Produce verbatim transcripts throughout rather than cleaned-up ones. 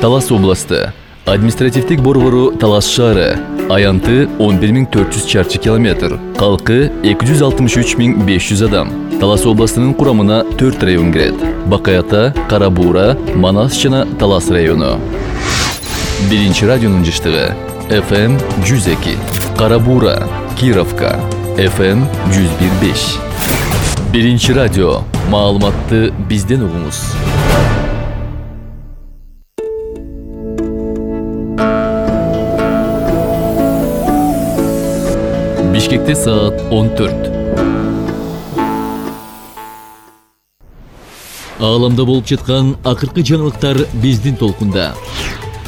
Талас областы. Административдик борбору Талас шаары. Аянты он бир миң төрт жүз чарчы километр. Калкы эки жүз алтымыш үч миң беш жүз адам. Талас областынын курамына төрт район кирет. Бакаята, Карабуура, Манас жана Талас району. Биринчи радионун жыштыгы. эф эм жүз эки. Карабуура, Кировка. эф эм жүз бир беш. Биринчи радио. Маалыматты бизден угуңуз. Бишкекте саат он төрт. Ааламда болуп жаткан акыркы жаңылыктар биздин толкунда.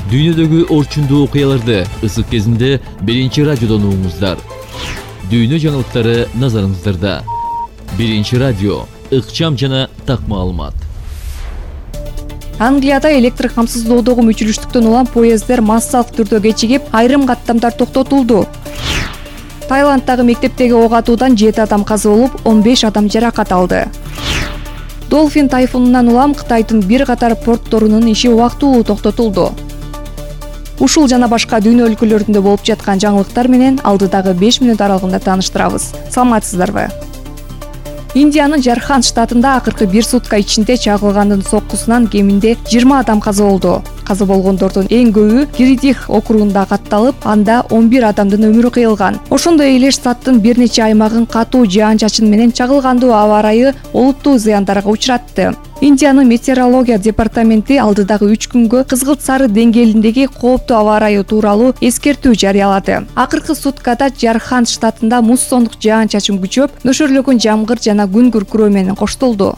Дүйнөдөгү орчундуу окуяларды ысык кезинде биринчи радиодон угуңуздар. Дүйнө жаңылыктары назарыңыздарда. Биринчи радио, ыкчам жана так маалымат. Англияда электр камсыздоодогу мүчүлүштүктөн улам поезддер массалык түрдө кечигип, айрым каттамдар токтотулду. Таиланддагы мектептеги ок атуудан жети адам каза болуп, он беш адам жаракат алды. Долфин тайфунунан улам Кытайдын бир катар портторунун иши убактылуу токтотулду. Ушул жана башка дүйнө өлкөлөрүндө болуп жаткан жаңылыктар менен алдыдагы беш мүнөт аралыгында тааныштырабыз. Саламатсыздарбы? Индиянын Жархан штатында акыркы бир сутка ичинде чагылгандын соккусунан кеминде жыйырма адам каза болду. Каза болгондордун эң көбү Гиридих округунда катталып, анда он бир адамдын өмүрү кыйылган. Ошондой эле штаттын бир нече аймагын катуу жаан-чачын менен чагылгандуу аба ырайы олуттуу зыяндарга учуратты. Индиянын метеорология департаменти алдыдагы үч күнгө кызгылт сары деңгээлиндеги кооптуу аба ырайы тууралуу эскертүү жарыялады. Акыркы суткада Жархан штатында муссондук жаан-чачын күчөп, нөшөрлөгөн жамгыр жана күн күркүрөө менен коштолду.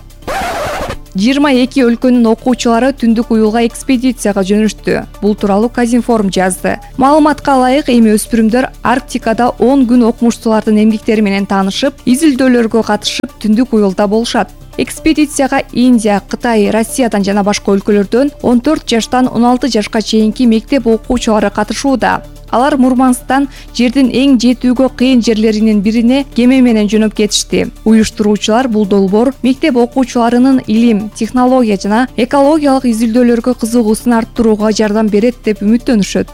жыйырма эки өлкөнүн окуучулары түндүк уюлга экспедицияга жөнөштү. Бул тууралуу Казинформ жазды. Маалыматка ылайык, эми өспүрүмдөр Арктикада он күн окумуштуулардын эмгектери менен таанышып, изилдөөлөргө катышып, түндүк уюлда болушат. Экспедицияга Индия, Кытай, Россиядан жана башка өлкөлөрдөн он төрт жаштан он алты жашка чейинки мектеп окуучулары катышууда. Алар Мурманскдан жердин эң жетүүгө кыйын жерлеринин бирине кеме менен жөнөп кетишти. Уюштуруучулар бул долбоор мектеп окуучуларынын илим, технология жана экологиялык изилдөөлөргө кызыгуусун арттырууга жардам берет деп үмүттөнүшөт.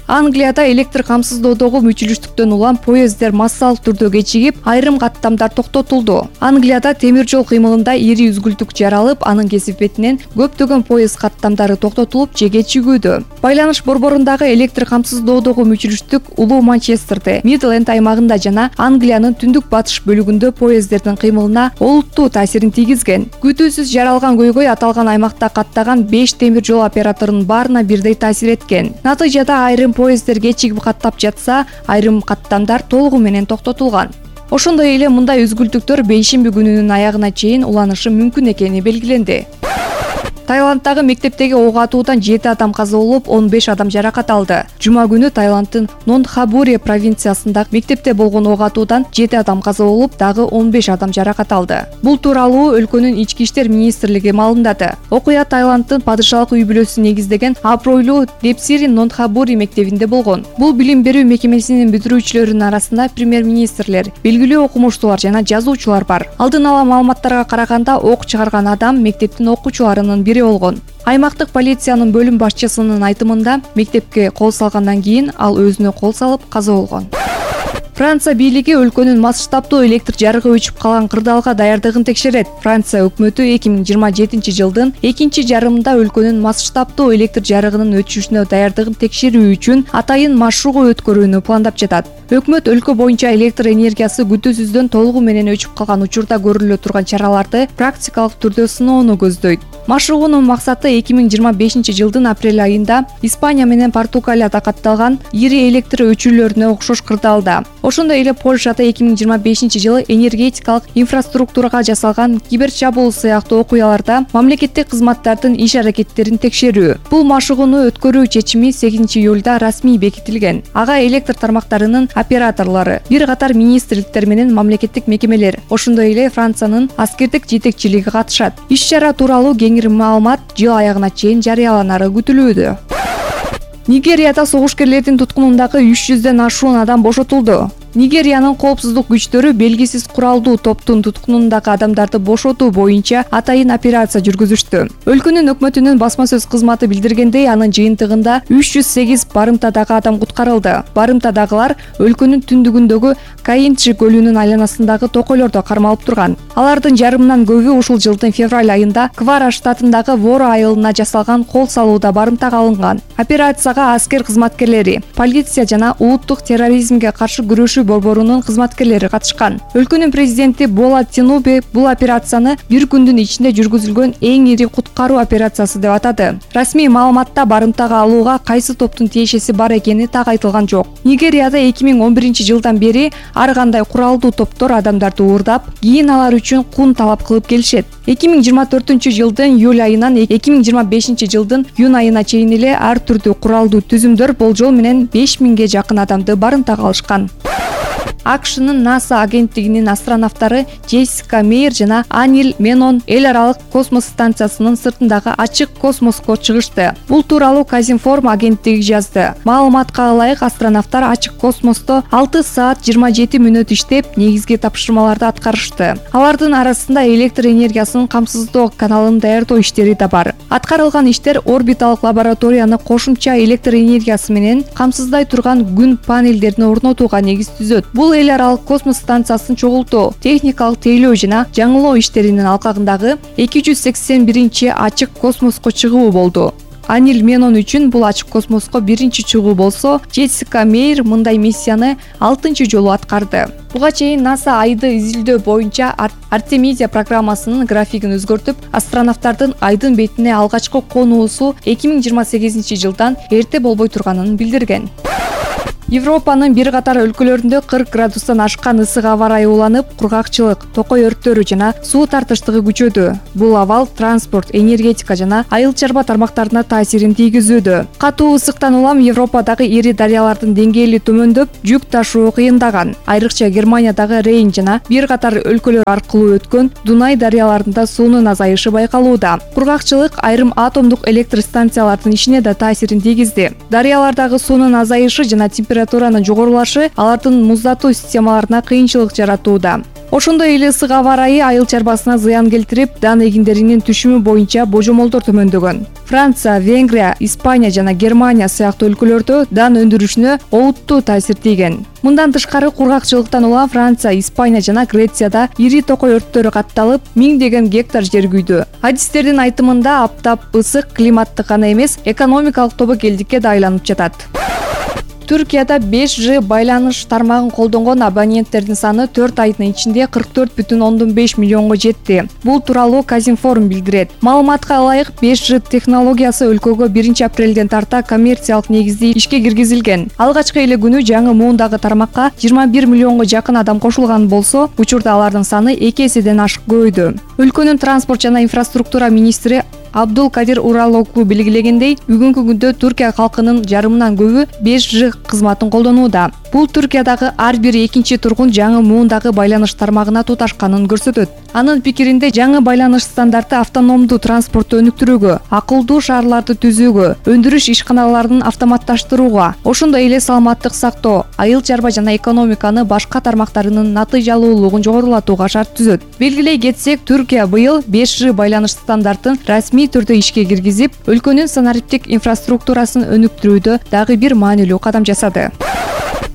Англияда электр камсыздоодогу мүчүлүштүктөн улам поезддер массалык түрдө кечигип, айрым каттамдар токтотулду. Англияда темир жол кыймылында ири үзгүлтүк жаралып, анын кесип бетинен көптөгөн поезд каттамдары токтотулуп же кечигүүдө. Байланыш борборундагы электр камсыздоодогу мүчүлүштүк улуу Манчестерде, Мидленд аймагында жана Англиянын түндүк батыш бөлүгүндө поезддердин кыймылына олуттуу таасирин тийгизген. Күтүүсүз жаралган көйгөй аталган аймакта каттаган беш темир жол операторунун баарына бирдей таасир эткен. Натыйжада айрым поезддер кечигип каттап жатса, айрым каттамдар толугу менен токтотулган. Ошондой эле мындай үзгүлтүктөр бейшемби күнүнүн аягына чейин уланышы мүмкүн экени белгиленди. Таиланддагы мектептеги ок атуудан жети адам каза болуп, он беш адам жаракат алды. Жума күнү Таиланддын Нонтхабури провинциясындагы мектепте болгон ок атуудан жети адам каза болуп, дагы он беш адам жаракат алды. Бул тууралуу өлкөнүн ички иштер министрлиги маалымдады. Окуя Таиланддын падышалык үй бүлөсүн негиздеген абройлуу Депсири Нонтхабури мектебинде болгон. Бул билим берүү мекемесинин бүтүрүүчүлөрүнүн арасында премьер-министрлер, белгилүү окумуштуулар жана жазуучулар бар. Алдын ала маалыматтарга караганда, ок чыгарган адам мектептин окуучуларынын бири болгон. Аймактык полициянын бөлүм башчысынын айтымында, мектепке кол салгандан кийин ал өзүнө кол салып каза болгон. Франция бийлиги өлкөнүн масштабдуу электр жарыгы өчүп калган кырдаалга даярдыгын текшерет. Франция өкмөтү эки миң жыйырма жетинчи жылдын экинчи жарымында өлкөнүн масштабдуу электр жарыгынын өчүшүнө даярдыгын текшерүү үчүн атайын машыгуу өткөрүүнү пландап жатат. Өкмөт өлкө боюнча электр энергиясы күтүүсүздөн толугу менен өчүп калган учурда көрүлө турган чараларды практикалык түрдө сыноону көздөйт. Машыгуунун максаты эки миң жыйырма бешинчи жылдын апрель айында Испания менен Португалияда катталган ири электр өчүрүүлөрүнө окшош кырдаалда. Ошондой эле Польшада эки миң жыйырма бешинчи жылы энергетикалык инфраструктурага жасалган киберчабуул сыяктуу окуяларда мамлекеттик кызматтардын иш аракеттерин текшерүү. Бул машыгууну өткөрүү чечими сегизинчи июлда расмий бекитилген. Ага электр тармактарынын операторлору, бир катар министрликтер менен мамлекеттик мекемелер, ошондой эле Франциянын аскердик жетекчилиги катышат. Иш-чара тууралуу кеңири маалымат жыл аягына чейин жарыяланары күтүлүүдө. Нигерияда согушкерлердин туткунундагы үч жүздөн ашуун адам бошотулду. Нигериянын коопсуздук күчтөрү белгисиз куралдуу топтун туткунундагы адамдарды бошотуу боюнча атайын операция жүргүзүштү. Өлкөнүн өкмөтүнүн басма сөз кызматы билдиргендей, анын жыйынтыгында үч жүз сегиз барымтадагы адам куткарылды. Барымтадагылар өлкөнүн түндүгүндөгү Кайинчи көлүнүн айланасындагы токойлордо кармалып турган. Алардын жарымынан көбү ушул жылдын февраль айында Квара штатындагы Воро айылына жасалган кол салууда барымтага алынган. Операцияга аскер кызматкерлери, полиция жана улуттук терроризмге каршы күрөшүү борборунун кызматкерлери катышкан. Өлкөнүн президенти Бола Тинубе бул операцияны бир күндүн ичинде жүргүзүлгөн эң ири куткаруу операциясы деп атады. Расмий маалыматта барымтага алууга кайсы топтун тиешеси бар экени так айтылган жок. Нигерияда эки миң он биринчи жылдан бери ар кандай куралдуу топтор адамдарды уурдап, кийин алар үчүн кун талап кылып келишет. эки миң жыйырма төртүнчү жылдын июль айынан эки миң жыйырма бешинчи жылдын июнь айына чейин эле ар түрдүү куралдуу түзүмдөр болжол менен беш миңге жакын адамды барымтага алышкан. АКШнын НАСА агенттигинин астронавттары Джессика Мейер жана Анил Менон эл аралык космос станциясынын сыртындагы ачык космоско чыгышты. Бул тууралуу Казинформ агенттиги жазды. Маалыматка ылайык, астронавттар ачык космосто алты саат жыйырма жети мүнөт иштеп, негизги тапшырмаларды аткарышты. Алардын арасында электр энергиясынын камсыздоо каналын даярдоо иштери да бар. Аткарылган иштер орбиталык лабораторияны кошумча электр энергиясы менен камсыздай турган күн панелдерин орнотууга негиз түзөт. Бул эл аралык космос станциясын чогултуу, техникалык тейлөө жана жаңылоо иштеринин алкагындагы эки жүз сексен биринчи ачык космоско чыгуу болду. Анил Менон үчүн бул ачык космоско биринчи чыгуу болсо, Джессика Мейер мындай миссияны алтынчы жолу аткарды. Буга чейин НАСА айды изилдөө боюнча Артемизия программасынын графигин өзгөртүп, астронавттардын айдын бетине алгачкы конуусу эки миң жыйырма сегизинчи жылдан эрте болбой турганын билдирген. Европанын бир катар өлкөлөрүндө кырк градустан ашкан ысык аба ырайы уланып, кургакчылык, токой өрттөрү жана суу тартыштыгы күчөдү. Бул абал транспорт, энергетика жана айыл чарба тармактарына таасирин тийгизүүдө. Катуу ысыктан улам Европадагы ири дарыялардын деңгээли төмөндөп, жүк ташуу кыйындаган. Айрыкча Германиядагы Рейн жана бир катар өлкөлөр аркылуу өткөн Дунай дарыяларында суунун азайышы байкалууда. Кургакчылык айрым атомдук электр станциялардын ишине да таасирин тийгизди. Дарыялардагы суунун азайышы жана температуранын жогорулашы алардын муздатуу системаларына кыйынчылык жаратууда. Ошондой эле ысык аба ырайы айыл чарбасына зыян келтирип, дан эгиндеринин түшүмү боюнча божомолдор төмөндөгөн. Франция, Венгрия, Испания жана Германия сыяктуу өлкөлөрдө дан өндүрүшүнө олуттуу таасир тийген. Мындан тышкары кургакчылыктан улам Франция, Испания жана Грецияда ири токой өрттөрү катталып, миңдеген гектар жер күйдү. Адистердин айтымында аптап ысык климаттык гана эмес, экономикалык тобокелдикке да айланып жатат. Түркияда беш жи байланыш тармагын колдонгон абоненттердин саны төрт айдын ичинде кырк төрт бүтүн ондон беш миллионго жетти. Бул тууралуу Казинформ билдирет. Маалыматка ылайык, беш жи технологиясы өлкөгө биринчи апрелден тарта коммерциялык негизде ишке киргизилген. Алгачкы эле күнү жаңы муундагы тармакка жыйырма бир миллионго жакын адам кошулган болсо, учурда алардын саны эки эседен ашык көбөйдү. Өлкөнүн транспорт жана инфраструктура министри Абдул Кадир Уралоглу белгилегендей, бүгүнкү күндө Түркия калкынын жарымынан көбү беш жи кызматын колдонууда. Бул Түркиядагы ар бир экинчи тургун жаңы муундагы байланыш тармагына туташканын көрсөтөт. Анын пикиринде, жаңы байланыш стандарты автономдуу транспортту өнүктүрүүгө, акылдуу шаарларды түзүүгө, өндүрүш ишканаларын автоматташтырууга, ошондой эле саламаттык сактоо, айыл чарба жана экономиканы башка тармактарынын натыйжалуулугун жогорулатууга шарт түзөт. Белгилей кетсек, Түркия быйыл беш жи байланыш стандартын расмий түрдө ишке киргизип, өлкөнүн санариптик инфраструктурасын өнүктүрүүдө дагы бир маанилүү кадам жасады.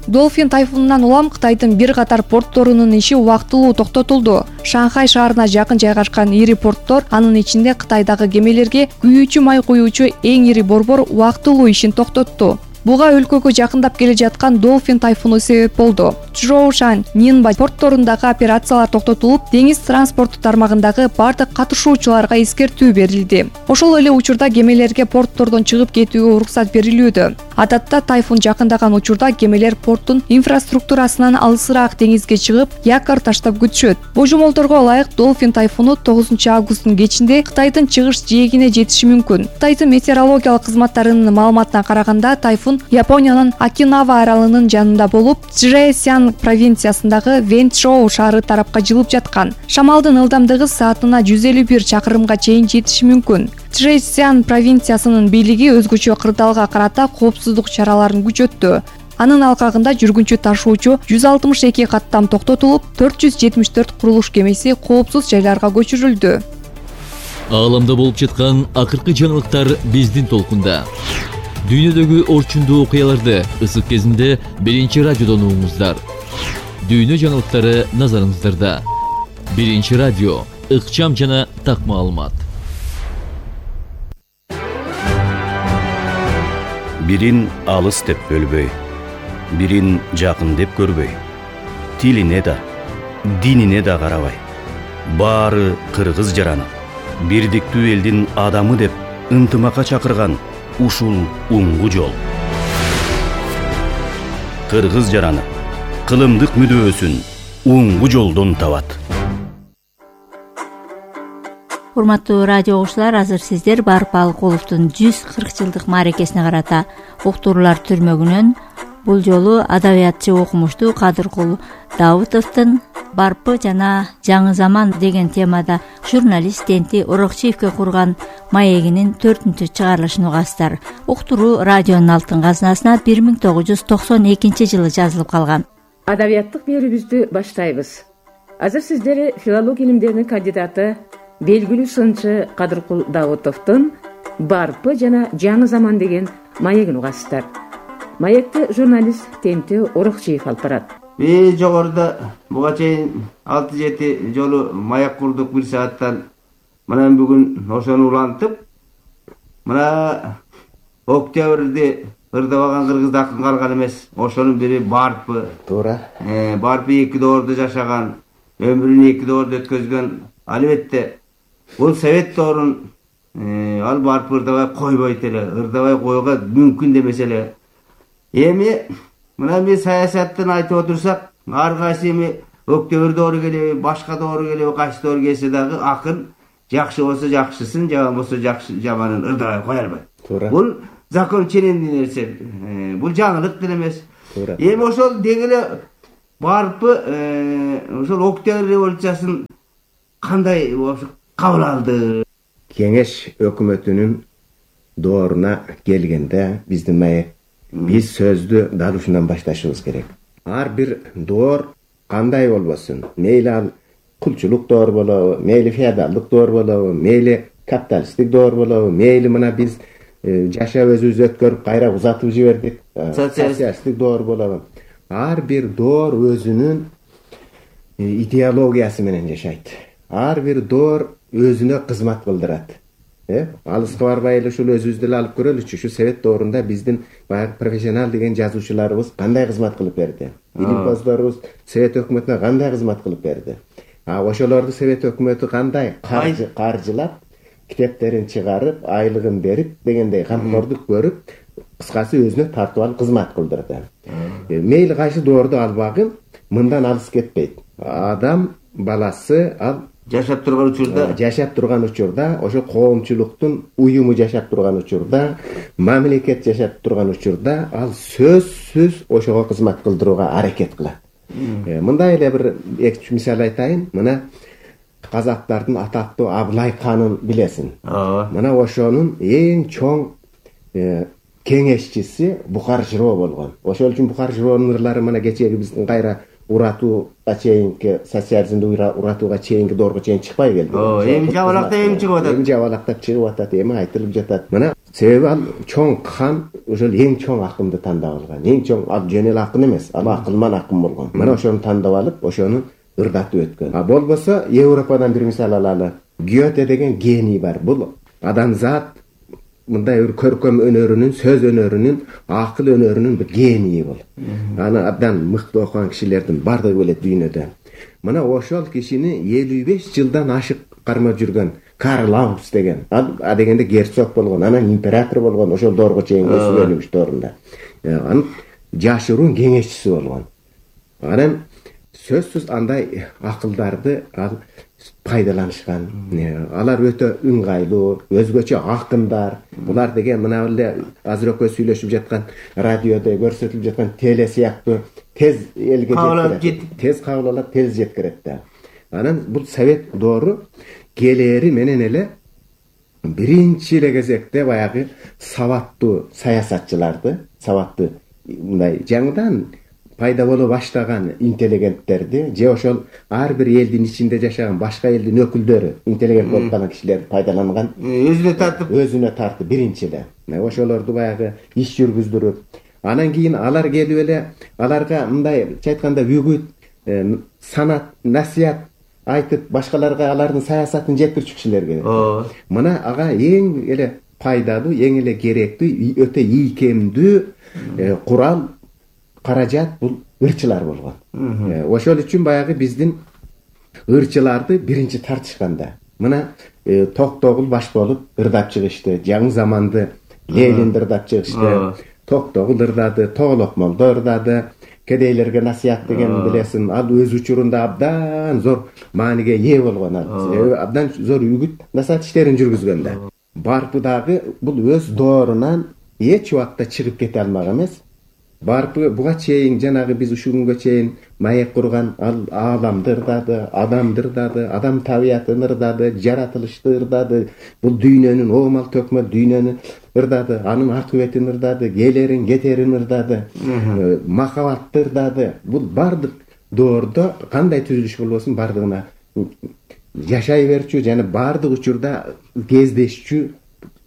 Долфин тайфунунан улам Кытайдын бир катар портторунун иши убактылуу токтотулду. Шанхай шаарына жакын жайгашкан ири порттор, анын ичинде Кытайдагы кемелерге күйүүчү май куюучу эң ири борбор убактылуу ишин токтотту. Буга өлкөгө жакындап келе жаткан Долфин тайфуну себеп болду. Чжоушань, Нинба портторундагы операциялар токтотулуп, деңиз транспорту тармагындагы бардык катышуучуларга эскертүү берилди. Ошол эле учурда кемелерге порттордон чыгып кетүүгө уруксат берилүүдө. Адатта тайфун жакындаган учурда кемелер порттун инфраструктурасынан алысыраак деңизге чыгып, якор таштап күтүшөт. Божомолдорго ылайык, Долфин тайфуну тогузунчу августтун кечинде Кытайдын чыгыш жээгине жетиши мүмкүн. Кытайдын метеорологиялык кызматтарынын маалыматына караганда, тайфун Япониянын Окинава аралынын жанында болуп, Чжэцзян провинциясындагы Вэнчжоу шаары тарапка жылып жаткан. Шамалдын ылдамдыгы саатына жүз элүү бир чакырымга чейин жетиши мүмкүн. Чжэцзян провинциясынын бийлиги өзгөчө кырдаалга карата коопсуздук чараларын күчөттү. Анын алкагында жүргүнчү ташуучу жүз алтымыш эки каттам токтотулуп, төрт жүз жетимиш төрт курулуш кемеси коопсуз жайларга көчүрүлдү. Ааламда болуп жаткан акыркы жаңылыктар биздин толкунда. Дүйнөдөгү орчундуу окуяларды ысык кезинде биринчи радиодон угуңуздар. Дүйнө жаңылыктары назарыңыздарда. Биринчи радио, ыкчам жана так маалымат. Бирин алыс деп бөлбөй, бирин жакын деп көрбөй, тилине да, динине да карабай, баары кыргыз жараны, бирдиктүү элдин адамы деп ынтымакка чакырган ушул уңгу жол. Кыргыз жараны кылымдык мүдөөсүн уңгу жолдон табат. Урматтуу радио угуучулар, азыр сиздер Барып Алыкуловдун жүз кырк жылдык мааракесине карата уктуруулар түрмөгүнөн бул жолу адабиятчы окумуштуу Кадыркул Даутовдун Барпы жана жаңы заман деген темада журналист Тенти Орокчиевке курган маегинин төртүнчү чыгарылышын угасыздар. Уктуруу радионун алтын казынасына бир миң тогуз жүз токсон экинчи жылы жазылып калган. Адабияттык берүүбүздү баштайбыз. Азыр сиздер филология илимдеринин кандидаты, белгилүү сынчы Кадыркул Даутовдун Барпы жана жаңы заман деген маегин угасыздар. Маекти журналист Тенти Орокчиев алып барат. Мен жогоруда буга чейин алты жети жолу маяк курдук бир сааттан. Мына бүгүн ошону улантып, мына октябрьде ырдабаган кыргызды акын калган эмес. Ошонун бири Барпы. Туура. Э, Барпы эки доордо жашаган, өмүрүн эки доордо өткөзгөн. Албетте бул совет доорун ал Барпы ырдабай койбойт эле, ырдабай коюуга мүмкүн демесе эле. Эми мына мен саясаттан айтып отурсак, ар кайсы эми октябрь доору келеби, башка доору келеби, кайсы доору келсе дагы акын жакшы болсо жакшысын, жаман болсо жакшы жаманын ырдабай кое албайт. Туура. Бул закон ченемдүү нерсе. Бул жаңылык деле эмес. Туура. Эми ошол деги эле Барпы ошол октябрь революциясын кандай болуп кабыл алды? Кеңеш өкмөтүнүн дооруна келгенде биздин маек биз сөздү дал ушундан башташыбыз керек. Ар бир доор кандай болбосун, мейли ал кулчулук доор болобу, мейли феодалдык доор болобу, мейли капиталисттик доор болобу, мейли мына биз жашап өзүбүз өткөрүп кайра узатып жибердик, социалисттик доор болобу. Ар бир доор өзүнүн идеологиясы менен жашайт. Ар бир доор өзүнө кызмат кылдырат. Э, алыска барбай эле ушул өзүбүздү эле алып көрөлүчү. Ушу совет доорунда биздин баягы профессионал деген жазуучуларыбыз кандай кызмат кылып берди? Илимпоздорубуз совет өкмөтүнө кандай кызмат кылып берди? А ошолорду совет өкмөтү кандай каржылап, китептерин чыгарып, айлыгын берип дегендей камкордук көрүп, кыскасы өзүнө тартып алып кызмат кылдырды. Мейли кайсы доорду албагын мындан алыс кетпейт. Адам баласы ал жашап турган учурда, жашап турган учурда, ошо коомчулуктун уюму жашап турган учурда, мамлекет жашап турган учурда ал сөзсүз ошого кызмат кылдырууга аракет кылат. Мындай эле бир эки мисал айтайын. Мына казактардын атактуу Абылай ханын билесиң. Мына ошонун эң чоң кеңешчиси Бухар Жыроо болгон. Ошол үчүн Бухар Жыроонун ырлары мына кечеги биздин кайра уратууга чейинки социализмди уратууга чейинки доорго чейин чыкпай келди. Эми жабалакта эми чыгып атат. Эми жабалактап чыгып атат, эми айтылып жатат. Мына себеби ал чоң хан ошол эң чоң акынды тандап алган. Эң чоң ал жөн эле акын эмес, ал акылман акын болгон. Мына ошону тандап алып, ошону ырдатып өткөн. А болбосо Европадан бир мисал алалы. Гёте деген гений бар. Бул адамзат мындай бир көркөм өнөрүнүн, сөз өнөрүнүн, акыл өнөрүнүн бир генийи бол. Аны абдан мыкты окуган кишилердин бардыгы билет дүйнөдө. Мына ошол кишини элүү беш жылдан ашык кармап жүргөн Карл Аugust деген. А дегенде герцог болгон, анан император болгон, ошол доорго чейин өсүп доорунда. Анын жашыруун кеңешчиси болгон. Анан сөзсүз андай акылдарды ал пайдаланышкан. Алар өтө ыңгайлуу, өзгөчө акындар. Булар деген мына эле азыр экөө сүйлөшүп жаткан радиодо көрсөтүлүп жаткан теле сыяктуу тез элге жеткирет. Тез кабыл алат, тез жеткирет да. Анан бул совет доору келери менен эле биринчи эле кезекте баягы сабаттуу саясатчыларды, сабаттуу мындай жаңыдан пайда боло баштаган интеллигенттерди же ошол ар бир элдин ичинде жашаган башка элдин өкүлдөрү интеллигент болуп калган кишилер пайдаланган, өзүнө тартып өзүнө тартып биринчи эле ошолорду баягы иш жүргүздүрүп, анан кийин алар келип эле аларга мындайча айтканда үгүт, санат, насият айтып башкаларга алардын саясатын жеткирчү кишилер керек. Мына ага эң эле пайдалуу, эң эле керектүү, өтө ийкемдүү курал, каражат бул ырчылар болгон. Ошол үчүн баягы биздин ырчыларды биринчи тартышканда мына Токтогул баш болуп ырдап чыгышты, жаңы заманды Ленинди ырдап чыгышты, Токтогул ырдады, Тоголокмолдо ырдады, кедейлерге насият деген билесиң, ал өз учурунда абдан зор мааниге ээ болгон, ал абдан зор үгүт насаат иштерин жүргүзгөн да. Барпы дагы бул өз доорунан эч убакта чыгып кете алмак эмес. Барпы буга чейин жанагы биз ушул күнгө чейин маек курган ал ааламды ырдады, адамды ырдады, адам табиятын ырдады, жаратылышты ырдады, бул дүйнөнүн оомал төкмөл дүйнөнү ырдады, анын акыбетин ырдады, келерин кетерин ырдады, махабатты ырдады. Бул бардык доордо кандай түзүлүш болбосун бардыгына жашай берчү жана бардык учурда кездешчү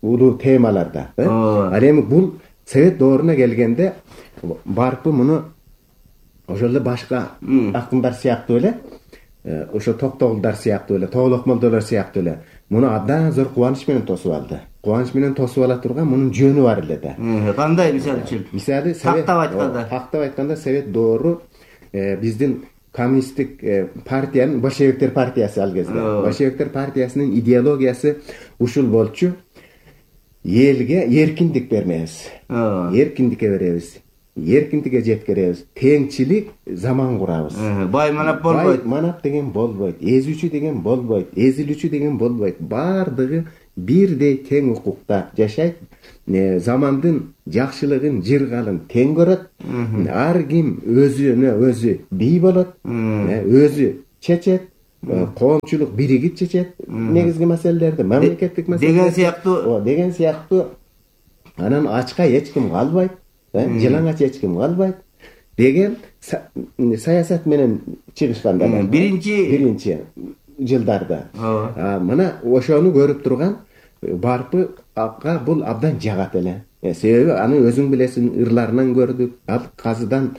улуу темаларда. Ал эми бул совет дооруна келгенде барпы муну ошол эле башка акындар сыяктуу эле, ошо Токтогулдар сыяктуу эле, Тоголокмолдолор сыяктуу эле муну абдан зор кубаныч менен тосуп алды. Кубаныч менен тосуп ала турган мунун жөнү бар эле да. Кандай мисалы үчүн? Мисалы тактап айтканда, тактап айтканда совет доору биздин коммунисттик партиянын большевиктер партиясы ал кезде. Большевиктер партиясынын идеологиясы ушул болчу: элге эркиндик бермебиз, эркиндикке беребиз, эркиндикке жеткиребиз, теңчилик заман курабыз. Бай манап болбойт. Бай манап деген болбойт, эзүүчү деген болбойт, эзилүүчү деген болбойт. Бардыгы бирдей тең укукта жашайт. Замандын жакшылыгын, жыргалын тең көрөт. Ар ким өзүнө өзү бий болот, өзү чечет. Коомчулук биригип чечет негизги маселелерди, мамлекеттик маселелерди деген сыяктуу. Деген сыяктуу. Анан ачка эч ким калбайт, жылаңач эч ким калбайт деген саясат менен чыгышканда биринчи биринчи жылдарда. Мына ошону көрүп турган барпы ага бул абдан жагат эле. Себеби аны өзүң билесиң, ырларынан көрдүк, ал казыдан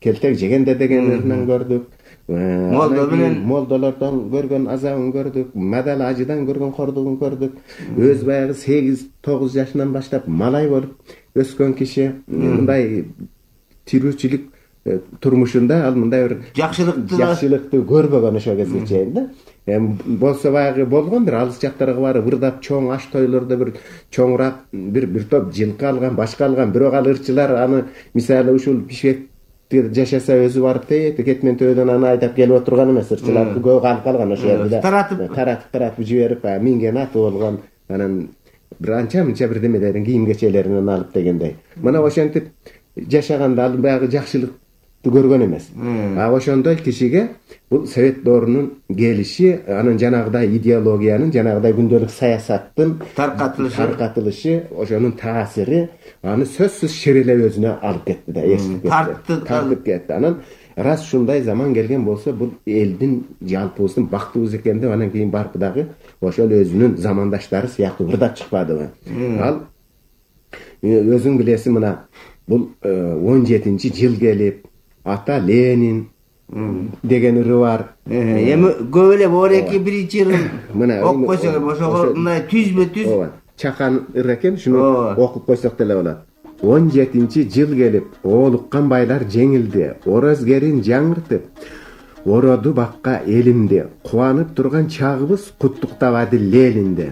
келтек жегенде деген ырынан көрдүк. Молдо менен молдолордон көргөн азабын көрдүк, мадал ажыдан көргөн кордугун көрдүк. Өз баягы сегиз тогуз жашынан баштап малай болуп өскөн киши мындай тирүүчүлүк турмушунда ал мындай бир жакшылыкты жакшылыкты көрбөгөн ошол кезге чейин да. Болсо баягы болгон бир алыс жактарга барып ырдап чоң аш тойлордо бир чоңураак бир бир топ жылкы алган, башка алган, бирок ал ырчылар аны мисалы ушул Бишкек жашаса өзү барып тейт, кетмен төбөдөн аны айдап келип отурган эмес, ырчылар көп калып калган ошол жерде. Таратып таратып таратып жиберип, минген аты болгон, анан бир анча мынча бир демелерин, кийим кечелеринен алып дегендей. Мына ошентип жашаганда ал баягы жакшылыкты көргөн эмес. А ошондой кишиге бул совет доорунун келиши, анын жанагыдай идеологиянын, жанагыдай күндөлүк саясаттын таркатылышы, таркатылышы, ошонун таасири аны сөзсүз ширелеп өзүнө алып кетти да, эсип кетти. Тартып кетти. Анан раз ушундай заман келген болсо, бул элдин, жалпыбыздын бактыбыз экен деп анан кийин барып дагы ошол өзүнүн замандаштары сыяктуу ырдап чыкпадыбы. Ал өзүң билесиң, мына бул он жетинчи жыл келип, ата Ленин деген ыры бар. Эми көп эле бор эки биринчи ырын окуп койсок, ошого мындай түзбө түз чакан ыр экен, шуну окуп койсок деле болот. он жетинчи жыл келип, оолуккан байлар жеңилди, орозгерин жаңыртып, ороду бакка элимди, кубанып турган чагыбыз куттуктабады Ленинди.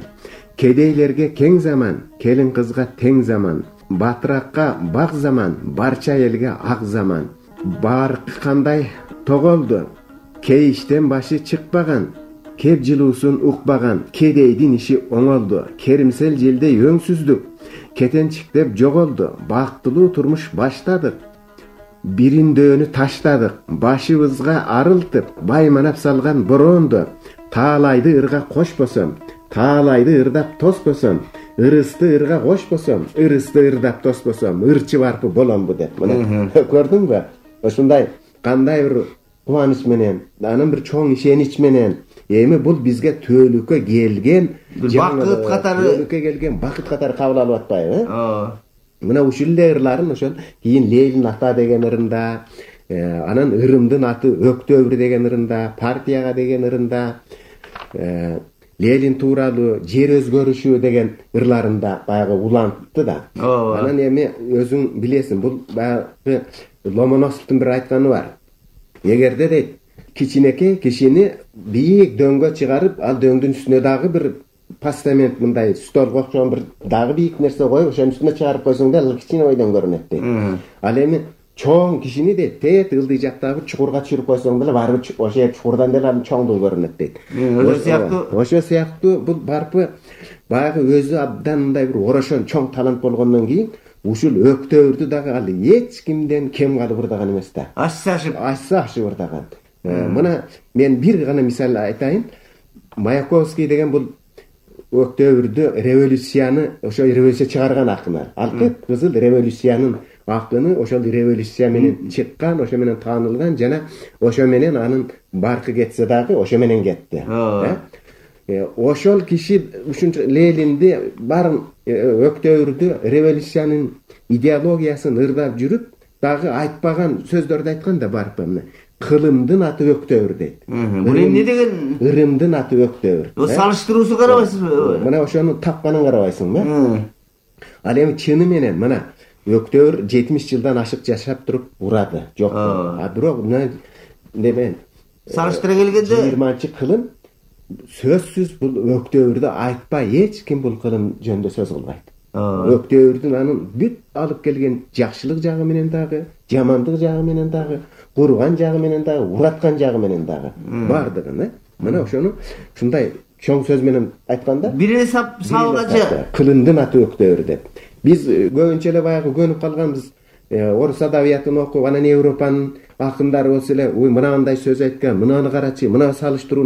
Кедейлерге кең заман, келин кызга тең заман, батыракка бак заман, барча элге ак заман. Баркы кандай тоголду, кей иштен башы чыкпаган, кеп жылуусун укпаган, кедейдин иши оңолду, керимсел желдей өңсүздүк, кетенчиктеп жоголду, бактылуу турмуш баштадык, бириндөөнү таштадык, башыбызга арылтып, байманап салган боронду, таалайды ырга кошпосом, таалайды ырдап тоспосом, ырысты ырга кошпосом, ырысты ырдап тоспосом, ырчы барпы боломбу деп. Мына көрдүңбү? Ушундай кандай бир кубаныч менен, анын бир чоң ишенич менен эми бул бизге төөлүккө келген бакыт катары, төөлүккө келген бакыт катары кабыл алып атпайбы? Ооба. Мына ушул эле ырларын ошол кийин Ленин ата деген ырында, анан ырымдын аты Өктөбүр деген ырында, партияга деген ырында, Ленин тууралуу жер өзгөрүшү деген ырларында баягы улантты да. Анан эми өзүң билесиң, бул баягы Ломоносовдун бир айтканы бар. Эгерде дейт, кичинекей кишини бийик дөңгө чыгарып, ал дөңдүн үстүнө дагы бир постамент, мындай столго окшогон бир дагы бийик нерсе коюп, ошонун үстүнө чыгарып койсоң да ал кичине бойдон көрүнөт дейт. Ал эми чоң кишини дейт, тет ылдый жактагы чукурга түшүрүп койсоң деле барыбыр ошо чукурдан деле анын чоңдугу көрүнөт дейт. Ошо сыяктуу, ошо сыяктуу бул барпы баягы өзү абдан мындай бир орошон чоң талант болгондон кийин ушул Өктөбүрдү дагы ал эч кимден кем калып ырдаган эмес да. Ашса ашып, ашса ашып ырдаган. Мына мен бир гана мисал айтайын. Маяковский деген бул Өктөбүрдү революцияны, ошо революция чыгарган акыны. Алкеп кызыл революциянын акыны, ошол революция менен чыккан, ошо менен таанылган жана ошо менен анын баркы кетсе дагы ошо менен кетти. Ошол киши ушунча Ленинди барын Өктөбүрдү революциянын идеологиясын ырдап жүрүп, дагы айтпаган сөздөрдү айткан да барпы. Кылымдын аты Өктөбүр дейт. Бул эмне деген? Ырымдын аты Өктөбүр. О салыштыруусу карабайсызбы? Мына ошону тапканын карабайсыңбы? Ал эми чыны менен мына Өктөбүр жетимиш жылдан ашык жашап туруп урады. Жок. А бирок мына неме салыштыра келгенде жыйырманчы кылым сөзсүз бул Өктөбүрдү айтпай эч ким бул кылым жөнүндө сөз кылбайт. Өктөбүрдүн анын бүт алып келген жакшылык жагы менен дагы, жамандык жагы менен дагы, курган жагы менен дагы, ураткан жагы менен дагы бардыгын, э? Мына ошону ушундай чоң сөз менен айтканда, бирине салгача кылымдын аты Өктөбүр деп. Биз көбүнчө эле баягы көнүп калганбыз. Орус адабиятын окуп, анан Европанын акындары болсо эле, ой, мынандай сөз айткан, мынаны карачы, мына салыштыруу